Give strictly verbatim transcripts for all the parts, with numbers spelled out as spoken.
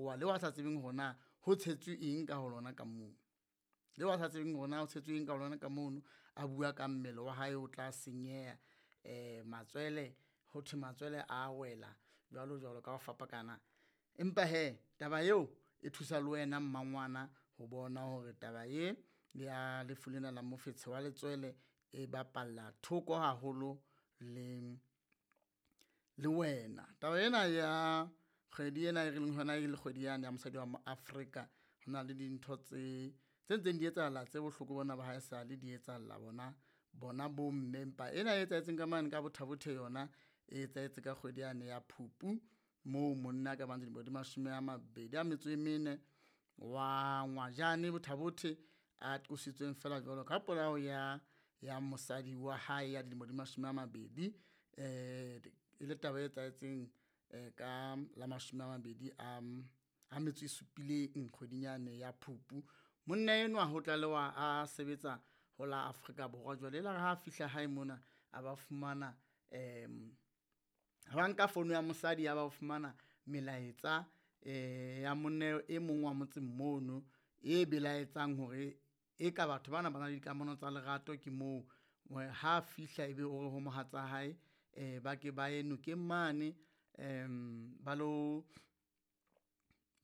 sekgowa leo a sa tsebeng hore na ho tshetswe eng ka ho lona ka moo. Leo a sa tsebeng hore na ho tshetswe eng ka ho lona ka mono, a bua ka mmele wa hae o tla senyeha, eh matswele ho thwe matswele a wela jwalo jwalo ka ho fapakana. Empa hee taba eo e thusa le wena mmangwana ho bona hore taba e ya lefu lena la mofetshe wa letswele e bapalla thoko haholo le le wena. Taba ena ya kgwedi ena e re leng ho yona e le kgwedi yane ya mosadi wa mo Afrika, ho na le dintho tse tse ntseng di etsahala tse bohloko bona ba haesale di etsahalla bona bona bo mme. Empa ena e etsahetseng ka mane ka Botha Bothe yona e etsahetse ka kgwedi yane ya Phupu, moo monna ka bang dilemo di mashome a mabedi a metso e mene wa Ngwajane Botha Bothe a qositsweng feela jwalo ka polao ya ya mosadi wa hae ya dilemo di mashome a mabedi. Eh e le taba e etsahetseng eh ka la mashome a mabedi a a metso e supileng kgweding yane ya Phupu. Monna enwa ho tlalewa a sebetsa ho la Afrika Borwa jwale elare ha fihla hae mona a ba fumana em ba nka fono ya mosadi ya ba fumana melaetsa eh ya monna e mong wa motseng mono e belaetsang hore e ka batho bana ba na le dikamano tsa lerato. Ke moo ha fihla ebe o re ho mohatsa hae eh ba ke ba ye nokeng mane em ba lo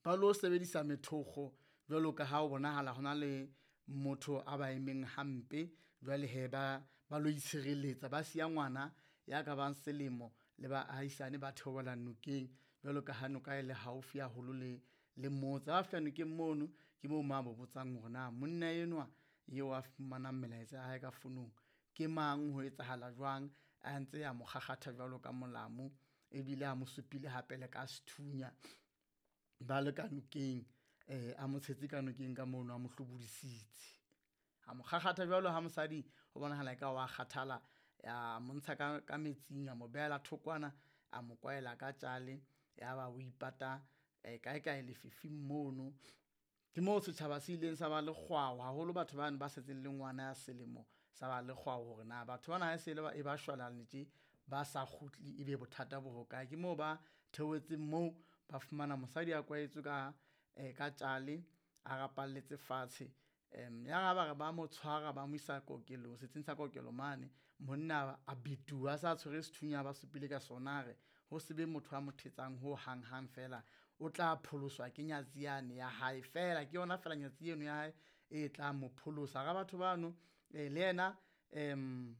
ba lo sebedisa methokgo jwalo ka ha ho bonahala hona le motho a ba emeng hampe. Jwale hee ba ba lo itshireletsa, ba siya ngwana ya ka bang selemo le baahisane ba theohela nokeng jwalo ka ha noka e le haufi haholo le le motse. Ha fihla nokeng mono ke moo mo a botsang hore na monna enwa eo a fumanang melaetsa ya hae ka fonong ke mang, ho etsahala jwang, a ntse a mo kgakgatha jwalo ka molamu ebile a mo supile hape le ka sethunya ba le ka nokeng. Eh a mo tshetse ka nokeng ka mono, a mo hlobodisitse, a mo kgakgatha jwalo ha mosadi ho bonahala eka wa kgathala, a mo ntsha ka ka metsing, a mo behela thokwana, a mo kwaela ka tjale yaba o ipata eh kae kae lefifing mono. Ke moo setjhaba se ileng sa ba le kgwao haholo, batho bano ba setseng le ngwana ya selemo sa ba le kgwao hore na batho bana ha se le ba e ba shwalane tje ba sa kgutle ebe bothata bo hokae. Ke moo ba theohetseng moo ba fumana mosadi a kwaetswe ka eh ka tjale a rapalletse fatshe. Em ya ba re ba mo tshwara ba mo isa kokelong setsing sa kokelo mane, monna a betuwa a sa tshwere sethunya ba supile ka sona, a re ho se be motho a mo thetsang ho hang hang fela o tla pholoswa ke nyatsi yane ya hae fela, ke yona fela nyatsi eno ya hae e tla mo pholosa. Hara batho bano le yena em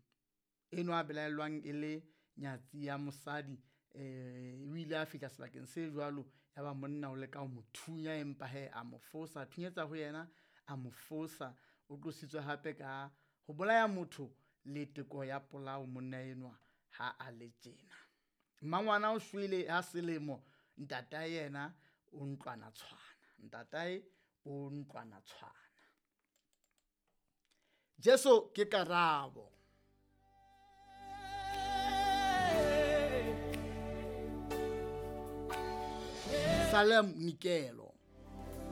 enwa a belaellwang e le nyatsi ya mosadi eh o ile a fihla sebakeng se jwalo ya ba monna o leka ho mo thunya, empa hee a mo fosa, a thunyetsa ho yena a mo fosa. O qositswe hape ka ho bolaya motho le teko ya polao monna enwa ha a le tjena. Mmangwana o shwele ha selemo, ntatae yena o ntlwana tshwana, ntatae o ntlwana tshwana. Jesu ke karabo. Salem Nikelo.